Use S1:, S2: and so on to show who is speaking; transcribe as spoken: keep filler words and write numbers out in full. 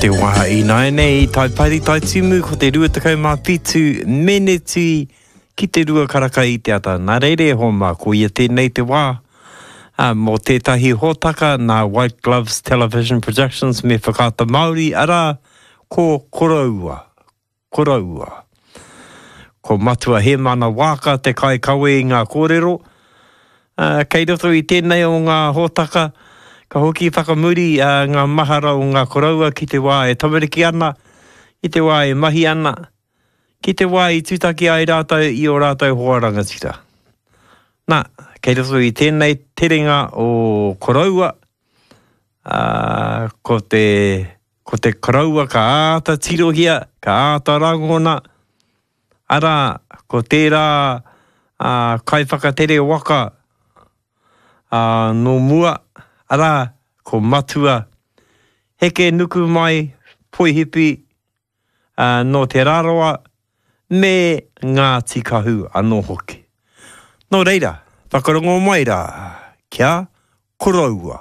S1: Te wā ināianei, tai pari tai timu, ko te rua tekau mā whitu meneti ki te rua karaka i te ata. Nā reira e hoa mā, ko ia tēnei te wā ā, mō tētahi hōtaka nā White Gloves Television Productions me Whakaata Māori, arā, ko Koroua. Koroua. Ko Matua Hēmana Waaka te kaikawe i ngā kōrero. Ā, kei roto i tēnei o ngā hōtaka, ka hoki whakamuri ngā mahara o ngā koroua ki te wā e tamariki ana, ki te wā e mahi ana, ki te wā i tūtaki ai rātou i ō rātou hoa rangatira. Nā, kei roto i tēnei terenga o koroua, ā, ko te, ko te koroua ka āta tirohia, ka āta rangona, arā, ko tērā ā, kaiwhakatere waka ā, nō mua, arā, ko Matua Heke Nukumai Poihipi, ā, nō Te Rarawa, me Ngāti Kahu anō hoki. Nō reira, whakarongo mai rā, kia koroua.